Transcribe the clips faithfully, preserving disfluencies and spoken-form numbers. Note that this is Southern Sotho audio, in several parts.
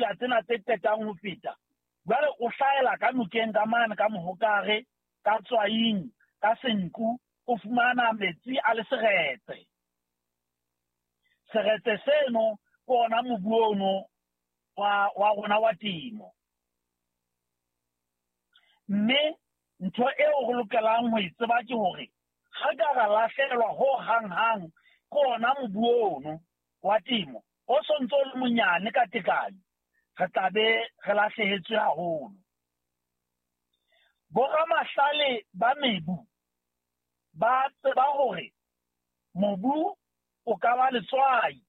dipula tsena tse qetang ho feta, jwale o hlahela ka nokeng ka mane ka Mohokare, ka Tswaing, ka Senqu, o fumana metsi a le seretse. Seretse seno ke ona mobu ono wa wa rona wa temo. Mme ntho eo re lokelang ho e tseba ke hore ha ka ra lahlehelwa ho hang-hang ke ona mobu ono wa temo o sontso o le monyane ka tekanyo, re tla be re lahlehetswe haholo. Boramahlale ba mebu ba tseba hore mobu o ka ba letswai.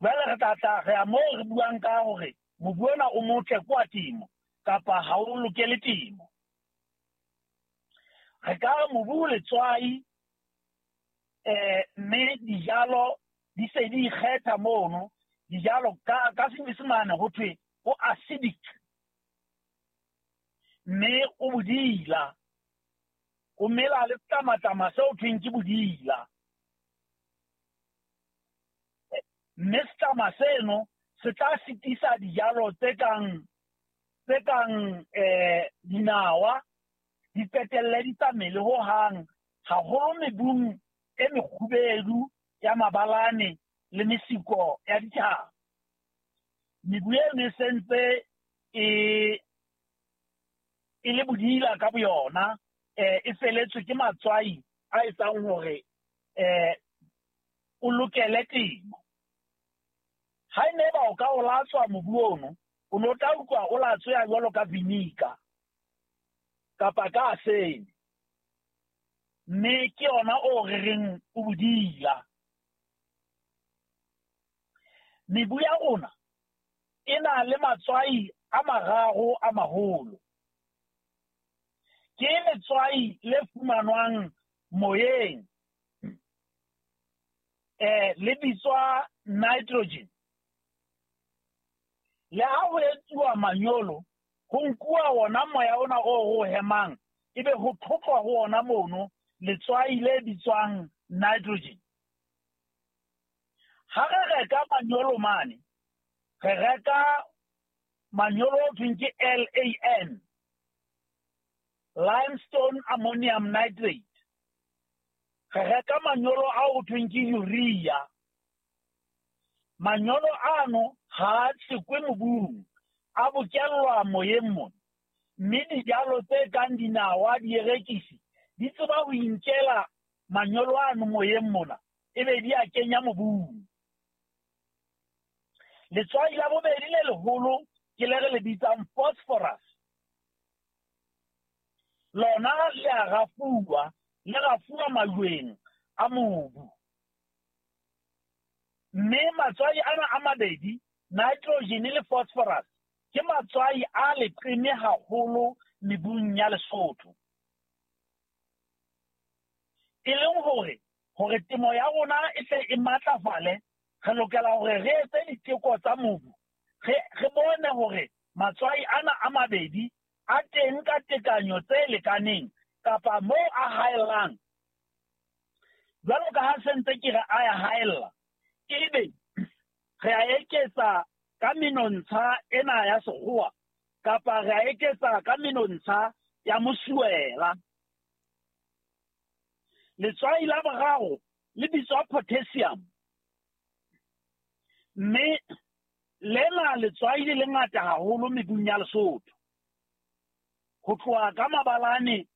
Jwale re tla tla re ya moo re buang ka hore mobu ona o motle ke wa temo kapa ha o lokele temo. Re ka re mobu o letswai, eh mme dijalo di se di ikgetha mono. Dijalo ka ka Senyesemane ho thwe o acidic, mme o bodila, o mela le tlamatama seo thweng ke bodila. Mme setlama seno se tla sitisa dijalo tse kang tse kang eh dinawa di qetelle di sa mele ho hang, haholo mebung e mekgubedu ya mabalane le mesiko ya dithaba. Mebu eno e sentse e e le bodila ka boyona, eh e feletswe ke matswai a etsang hore eh o lokele temo. Ha e ne ba o ka o latswa mobu ono, o no tla utlwa o latsweha jwalo ka vinegar kapa ka asene, mme ke yona o re reng o bodila. Mebu ya rona e na le matswai a mararo a maholo. Ke letswai le fumanwang moyeng, eh le bitswa nitrogen. Le ha ho etsuwa manyolo, ho nkuwa wona moya ona o o hemang, ebe ho thotlwa ho ona mono letswai le bitswang nitrogen. Ha re reka manyolo mane, re reka manyolo o thweng ke L A N, limestone ammonium nitrate. Re reka manyolo a o thweng ke urea. Manyolo ano ha a tshekwe mobung, a bokellwa moyeng mona, mme dijalo tse kang dinawa, dierekisi di tseba ho inkela manyolo ano moyeng mona, ebe di a kenya mobung. Letswai la bobedi le leholo ke le re le bitsang phosphorus. Lona le a rafuwa, le rafuwa majweng a mobu. Mme matswai ana a mabedi, nitrogen le phosphorus, ke matswai a leqeme haholo mebung ya Lesotho. E leng hore hore temo ya rona e tle e matlafale, re lokela hore re etse diteko tsa mobu, re re bone hore matswai ana a mabedi a teng ka tekanyo tse lekaneng kapa moo a haellang. Jwalo ka ha sentse ke re a ya haella, ebe re a eketsa ka menontsha ena ya sekgowa kapa re a eketsa ka menontsha ya mosuwela. Letswai la boraro le bitswa potassium, mme lena letswai le lengata haholo mebung ya Lesotho. Ho tloha ka mabalane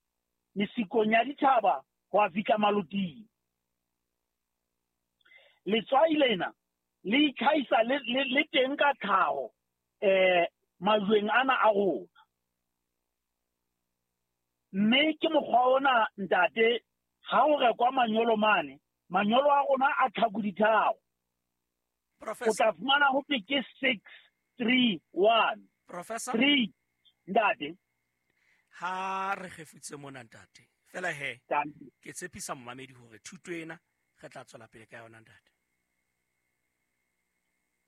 mesikong ya dithaba ho a fihla maloting. Letswai lena le itlhahisa le, le, le teng ka tlhaho eh majweng ana a rona. Mme ke mokgwa ona ntate, ha o rekwa manyolo mane, manyolo a rona a tlhaku ditharo. O tla fumana ho thwe ke six three one. Professor, three ntate. Ha re kgefutse mona ntate, fela he ke tshepisa momamedi hore thuto ena re tla tswela pele ka yona ntate.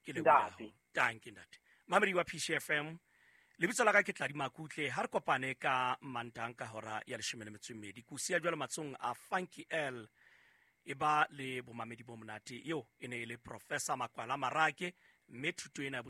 Ke leboha. Danke ntate. Mamedi wa P C F M, lebitso la ka ke Tladi Makutle. Ha re kopane ka Mantang ka hora ya leshome le metso e mmedi. Ke o siya jwalo matsong a Funky L, e ba le bomamedi bo monate. Eo e ne e le Professor Makwala Marake, mme thuto ena ya